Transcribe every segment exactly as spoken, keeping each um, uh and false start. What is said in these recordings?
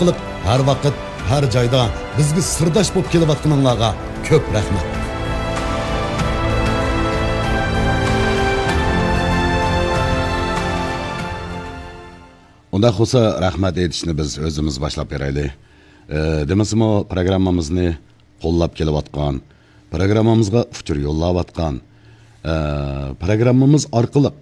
قىلىپ، ھەر ۋاقىت، ھەر جايدا بىزگە سىرداش بولۇپ كېلىۋاتقىنىڭلارغا كۆپ رەھمەت. ئۇنداق بولسا، رەھمەت ئېيتىشنى بىز ئۆزىمىز باشلاپ بېرەيلى. ئى، دېمىسىمۇ، پروگراممىمىزنى قوللاپ كېلىۋاتقان، پروگراممىمىزغا ئۇچۇر يوللاۋاتقان، ئى، پروگراممىمىز ئارقىلىق،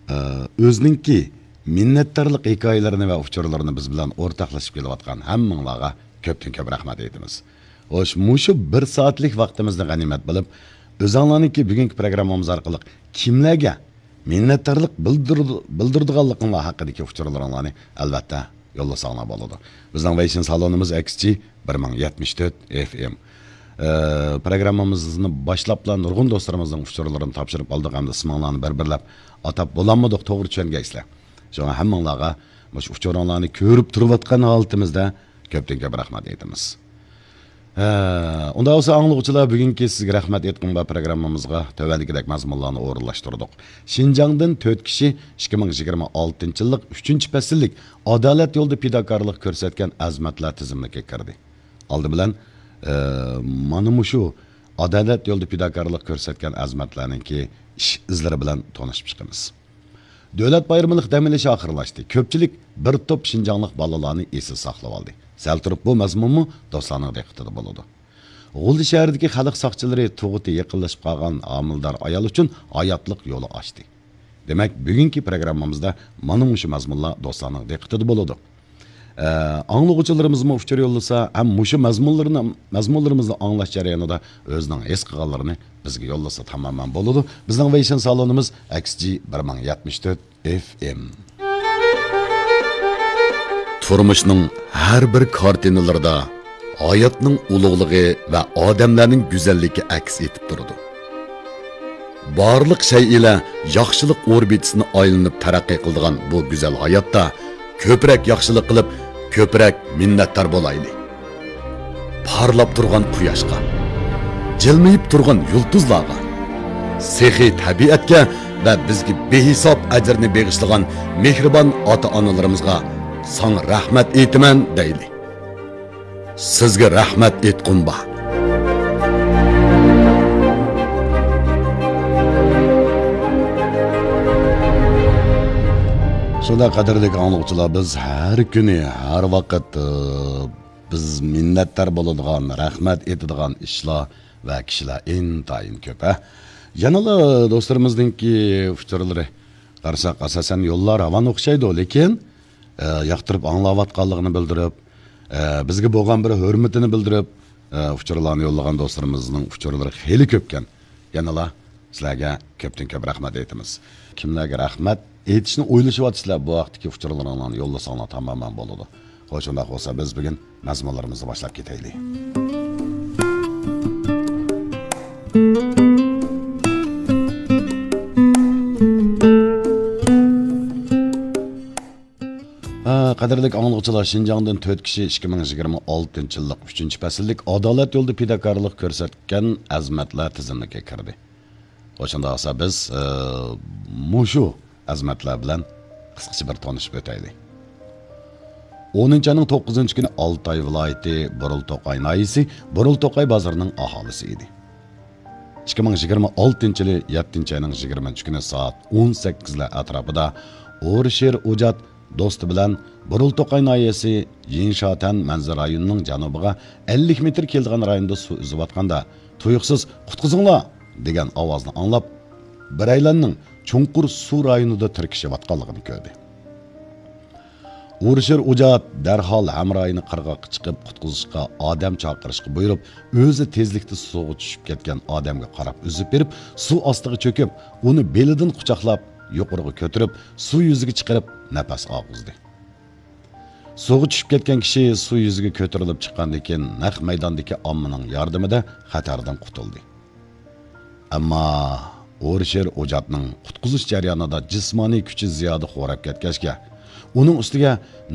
ئى، ئۆزىنىڭكى مىننەتدارلىق ھېكايىلىرىنى ۋە ئۇچۇرلىرىنى بىز بىلەن ئورتاقلىشىپ كېلىۋاتقان ھەممىڭلارغا كۆپتىن كۆپ رەھمەت ئېيتىمىز. خوش، مۇشۇ بىر سائەتلىك ۋاقتىمىزنى غەنىيمەت بىلىپ، ئۆزۈڭلارنىڭكى بۈگۈنكى پروگراممىمىز ئارقىلىق كىملەرگە مىننەتدارلىق بىلدۈر-، بىلدۈرىدىغانلىقىڭلار ھەققىدىكى ئۇچۇرلىرىڭلارنى، ئەلۋەتتە، يوللىساڭلار بولىدۇ. بىزنىڭ ۋېيشىن سالونىمىز ئەكس جى بىر مىڭ يەتمىش تۆت ئېف ئېم. ئى، پروگراممىمىزنى باشلاپلا نۇرغۇن دوستلىرىمىزنىڭ ئۇچۇرلىرىنى تاپشۇرۇپ ئالدۇق ھەمدە ئىسمىڭلارنى بىر-بىرلەپ ئاتاپ بولالمىدۇق، توغرا چۈشەنگەيسىلەر. شۇڭا ھەممىڭلارغا مۇشۇ ئۇچۇرۇڭلارنى كۆرۈپ تۇرۇۋاتقان ھالىتىمىزدە كۆپتىن كۆپ رەھمەت ئېيتىمىز. ھە، ئۇنداق بولسا، ئاڭلىغۇچىلار، بۈگۈنكى سىزگە رەھمەت ئېيتقۇم بار پروگراممىمىزغا تۆۋەندىكىدەك مەزمۇنلارنى ئورۇنلاشتۇردۇق. شىنجاڭدىن تۆت كىشى ئىككى مىڭ يىگىرمە ئالتىنچى يىللىق ئۈچىنچى پەسىللىك ئادالەت يولىدا پىداكارلىق كۆرسەتكەن ئەزىمەتلەر تىزىملىكىگە كىردى. ئالدى بىلەن، ئە، مانا مۇشۇ ئادالەت يولىدا پىداكارلىق كۆرسەتكەن ئەزىمەتلەرنىڭكى ئىش ئىزلىرى بىلەن تونۇشۇپ چىقىمىز. دۆلەت بايرىملىق دەم ئېلىش ئاخىرلاشتى. كۆپچىلىك بىر توپ شىنجاڭلىق بالىلارنى ئېسىل ساقلىۋالدى. سەل تۇرۇپ بۇ مەزمۇنمۇ دوستلارنىڭ دىققىتىدە بولىدۇ. غۇلجا شەھىرىدىكى خەلق ساقچىلىرى تۇغۇتى يېقىنلىشىپ قالغان ھامىلىدار ئايال ئۈچۈن ھاياتلىق يولى ئاچتى. دېمەك، بۈگۈنكى پروگراممىمىزدا مانا مۇشۇ مەزمۇنلار دوستلارنىڭ دىققىتىدە بولىدۇ. ئە، ئاڭلىغۇچىلىرىمىزمۇ ئۇچۇر يوللىسا ھەم مۇشۇ مەزمۇنلىرىنى، مەزمۇنلىرىمىزنى ئاڭلاش جەريانىدا ئۆزىنىڭ ھېس قىلغانلىرىنى بىزگە يوللىسا تامامەن بولىدۇ. بىزنىڭ ۋېيشىن سالونىمىز ئەكس جى بىر مىڭ يەتمىش تۆت ئېف ئېم. تۇرمۇشنىڭ ھەر بىر كارتىنىلىرىدا ھاياتنىڭ ئۇلۇغلۇقى ۋە ئادەملەرنىڭ گۈزەللىكى ئەكس ئېتىپ تۇرىدۇ. بارلىق شەيئىلەر ياخشىلىق ئوربىتىسىنى ئايلىنىپ تەرەققىي قىلىدىغان بۇ گۈزەل ھاياتتا كۆپرەك ياخشىلىق قىلىپ، كۆپرەك مىننەتدار بولايلى. پارلاپ تۇرغان قۇياشقا، جىلمىيىپ تۇرغان يۇلتۇزلارغا، سېخىي تەبىئەتكە ۋە بىزگە بىھېساب ئەجىرنى بېغىشلىغان مېھرىبان ئاتا-ئانىلىرىمىزغا ساڭا رەھمەت ئېيتىمەن دەيلى. سىزگە رەھمەت ئېيتقۇم بار. شۇنداق، قەدىرلىك ئاڭلىغۇچىلار، بىز ھەر كۈنى، ھەر ۋاقىت، ئى، بىز مىننەتدار بولىدىغان، رەھمەت ئېيتىدىغان ئىشلار ۋە كىشىلەر ئىنتايىن كۆپ، ھە. يەنىلا دوستلىرىمىزنىڭكى ئۇچۇرلىرى قارىساق، ئاساسەن يوللار راۋان ئوخشايدۇ، لېكىن، ئى، ياقتۇرۇپ ئاڭلاۋاتقانلىقىنى بىلدۈرۈپ، ئە، بىزگە بولغان بىر ھۆرمىتىنى بىلدۈرۈپ، ئە، ئۇچۇرلارنى يوللىغان دوستلىرىمىزنىڭ ئۇچۇرلىرى خېلى كۆپكەن. يەنىلا سىلەرگە كۆپتىن كۆپ رەھمەت ئېيتىمىز. كىملەرگە رەھمەت ئېيتىشنى ئويلىشىۋاتىسىلەر، بۇ ھەقتىكى ئۇچۇرلىرىڭلارنى يوللىساڭلار تامامەن بولىدۇ. خوش، ئۇنداق بولسا بىز بۈگۈن مەزمۇنلىرىمىزنى باشلاپ كېتەيلى. ھە، قەدىرلىك ئاڭلىغۇچىلار، شىنجاڭدىن تۆت كىشى ئىككى مىڭ يىگىرمە ئالتىنچى يىللىق ئۈچىنچى پەسىللىك ئادالەت يولىدا پىداكارلىق كۆرسەتكەن ئەزىمەتلەر تىزىملىكىگە كىردى. خوش، شۇنداق بولسا بىز، ئى، مۇشۇ ئەزىمەتلەر بىلەن قىسقىچە بىر تونۇشۇپ ئۆتەيلى. ئونىنچى ئاينىڭ توققۇزىنچى كۈنى ئالتاي ۋىلايىتى بۇرۇلتوقاي ناھىيەسى بۇرۇلتوقاي بازىرىنىڭ ئاھالىسى ئىدى. ئىككى مىڭ يىگىرمە ئالتىنچى يىلى يەتتىنچى ئاينىڭ يىگىرمىنچى كۈنى سائەت ئون سەككىزلەر ئەتراپىدا ئورشېر ئوجات دوستى بىلەن بۇرۇلتوقاي ناھىيەسى يىڭشاتەن مەنزىرە رايونىنىڭ جەنۇبىغا ئەللىك مېتىر كېلىدىغان رايوندا سۇ ئۈزۈۋاتقاندا، تۇيۇقسىز «قۇتقۇزۇڭلار!» دېگەن ئاۋازنى ئاڭلاپ، بىرەيلەننىڭ چوڭقۇر سۇ رايونىدا تىركىشىۋاتقانلىقىنى كۆردى. ئورشېر ئوجات دەرھال ھەمراھىنى قىرغاققا چىقىپ قۇتقۇزۇشقا ئادەم چاقىرىشقا بۇيرۇپ، ئۆزى تېزلىكتە سۇغا چۈشۈپ كەتكەن ئادەمگە قاراپ ئۈزۈپ بېرىپ، سۇ ئاستىغا چۆكۈپ، ئۇنى بېلىدىن قۇچاقلاپ، يۇقىرىغا كۆتۈرۈپ، سۇ يۈزىگە چىقىرىپ نەپەس ئالغۇزدى. سۇغا چۈشۈپ كەتكەن كىشى سۇ يۈزىگە كۆتۈرۈلۈپ چىققاندىن كېيىن، نەق مەيداندىكى ئاممىنىڭ ياردىمىدە خەتەردىن قۇتۇلدى. ئەمما ئورشېر ئوجاتنىڭ قۇتقۇزۇش جەريانىدا جىسمانىي كۈچى زىيادە خوراپ كەتكەچكە، ئۇنىڭ ئۈستىگە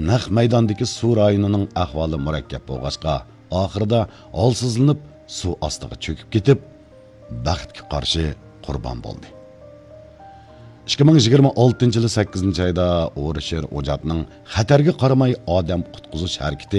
نەق مەيداندىكى سۇ رايونىنىڭ ئەھۋالى مۇرەككەپ بولغاچقا، ئاخىرىدا ھالسىزلىنىپ، سۇ ئاستىغا چۆكۈپ كېتىپ، بەختكە قارشى قۇربان بولدى. ئىككى مىڭ يىگىرمە ئالتىنچى يىلى سەككىزىنچى ئايدا ئورشېر ئوجاتنىڭ خەتەرگە قارىماي ئادەم قۇتقۇزۇش ھەرىكىتى